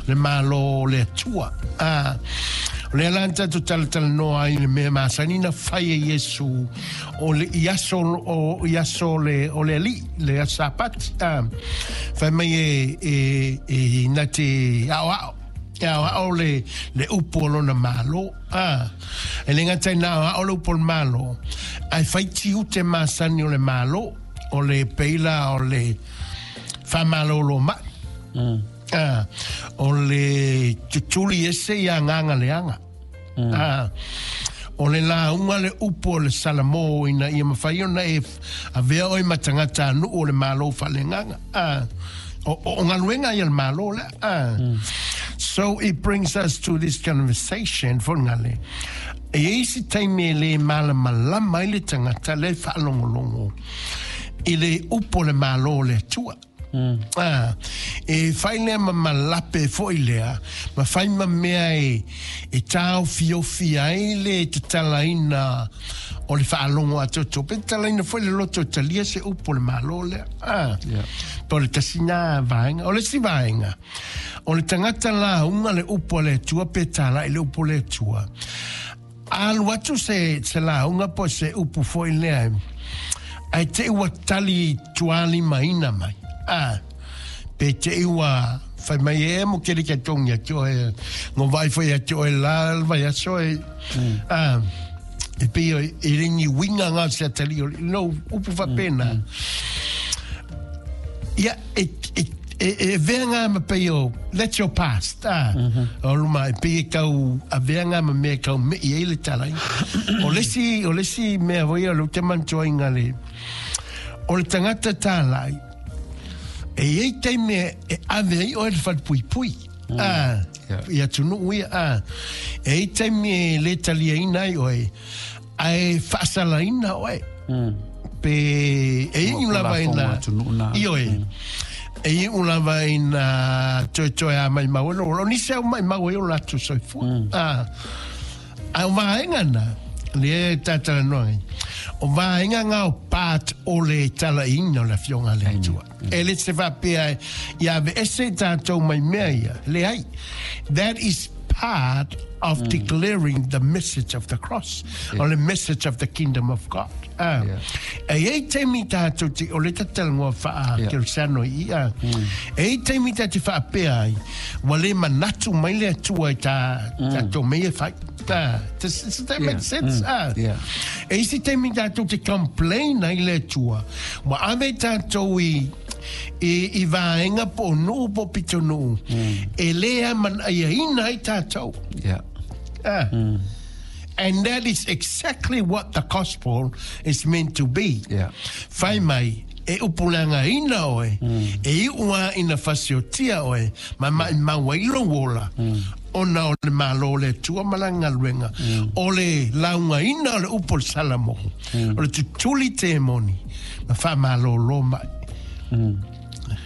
Le Malo o le Atua. A, o lea la na tatou talatalanoa ai i le mea masani na fai e Iesu o le, i aso, o, i aso o le, o le Alii, le aso Sapati. A, fai mai e, e, e na te aoao, e aoao le, le upu o lona Malo. A, e le gata ina aoao le upu o le Malo, ae fai tiute masani o le Malo, o le peila o le faamalolo mai. A, o le tutuli ese i agaga leaga. A, o le lauga le upu o le Salamo ina ia mafai ona e avea oe ma tagata nuu o le Malo faaleagaga. A, o, o, o galuega ia le Malo lea. A, so it brings us to this conversation, Fogale. E i ai se taimi e le malamalama ai le tagata lea e faalogologo i le upu o le Malo o le Atua. A, e fai lea ma malape foi lea, ma fai ma mea e, e taofiofi ai le tatalaina o le faalogo atoatoa. Pe tatalaina foi le loto e talia se upu o le Malo lea. A, Yeah. po o le tasi na vaega. O le isi vaega, o le tagata lauga le upu a le Atua pe talai le upu o le Atua. Alu atu se, se lauga po o se upu foi lea, ae te i ua tali tuālimaina mai. A, pe te i ua fai mai e mo kere kia tongi atu oe, ngo vai foi atu oe la le vaiaso e, a, e pei o e le ni uiga ngā se atali o, no, upu faapena. Ia, e, e, e, e avea ngā ma pei o, that's your past, ah. O luma, e pei e kau avea ngā ma mea e kau mei ai le talai. O le isi, o le isi mea foi o le ou te manatua le, o le tagata tālai, e i ai taimi e, e ave ai oe le falepuipui. Ah, Yeah. i atunuu ia, ah. E i ai taimi e le taliaina ai oe, ae faasalaina oe. Pe e iu lava ina atunuu na. Ioe. E iu lava ina toetoe a maimau e lo o nisi au maimau ai o latou soifua. Ah, a o vaega na, lea e tatalanoa ai, o vaega ngā o part o le talaiina o le Afioga a le Atua. E le se faapea ia aveese i tatou mai mea ia, leai. That is part of declaring the message of the cross, or the message of the kingdom of God. Ah. Yeah. E i ai taimi tatou te, o le tatalagoa faa Yeah. Kerisiano i ia. E i ai taimi ta te faapea ai, ua le manatu mai le Atua i ta, tatou mea e fai. Ah, does that make Yeah. sense? Ah. Yeah. E isi taimi tatou te complain ai le Atua, ua ave tatou i, i, i vaega po o nuu po o pitonuu, e le amanaiaina ai tatou. Yeah. Ah. And that is exactly what the gospel is meant to be. Yeah. Fai mai, e upulagaina oe, e iu a ina fasiotia oe, ma mai mau ai lou ola, ona o le Malo o le Atua ma lana galuega, o le laugaina o le upu o le Salamo, o le tutuli temoni, ma faamalōlō mai.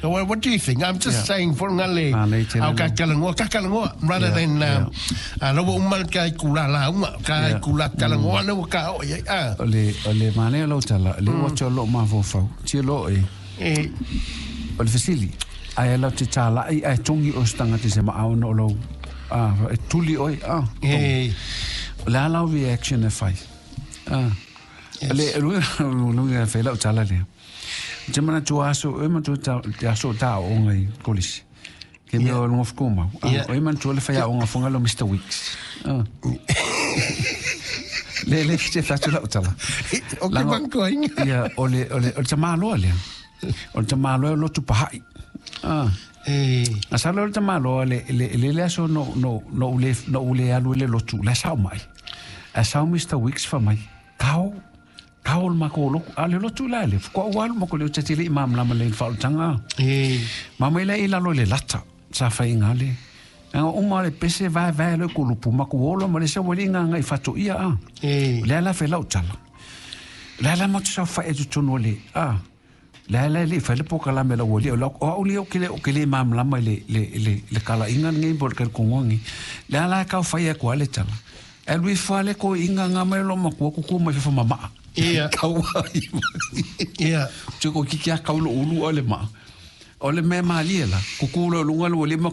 So what do you think? I'm just Yeah. saying for ngale Ah, nei tele au no. ka kalangoa, ka kalangoa, rather Yeah, than yeah. laua uma le ka ikula lauga, ka ikula kalangoa le ua ka o i ai. Ah. O le, o le manaia o lau tala, le ua atu o loo mafaufau, tia loo e, E, o le fesili, ae lau te tālai, ae togi oe se tagata i se maau ona o lou, ah, e tuli oe, ah, togi. e, O le a lau reaction e fai. Ah. Le luga e fai lau tala lea. Te manatua aso, e manatua te aso o tā aoga i kolisi. Ke mea o luga fukumau. Ah, Yeah. o e manatua le fai aoga Fagalo Mr. Weeks. Ah. Le le te fatu lau tala. o ke Lago- bankoinga. Ia, o le, o le, o le tamāloa lea. O le tamāloa o lotu pahai. Ah. E, A sa le o le tamāloa le, le, le le aso no, no, no ule, no ule alu i le lotu, le sao mai. A sao Mr. Weeks fa mai, kao, kao le mako o loku, a le lotu la le, fukua ua alu mako le o tetele i mamlama le whaolutanga. e, Ma mai le i lalo i le lata, sa whai ngā le. Anga uma le pese vae vae le kulupu, maku olo ma le se wali ngā ngā i whato ia a. e, Le ala whai lau tala. Le ala matu sa whai e tutunu le, a. Le ala le whai le poka la me la wali, o lau, o au le o kele o kele mamlama i le, le, le, le kala inga ngi bo le kele kongongi. Le ala e kau whai e kua le tala. E lui whale ko inga ngā mai lo makua kuku mai whiwha mamaa. Ia. Kau ai. ia, Tiko kiki a kau lo ulu o le maa. O le mea malie la, kuku lo lunga lo le maku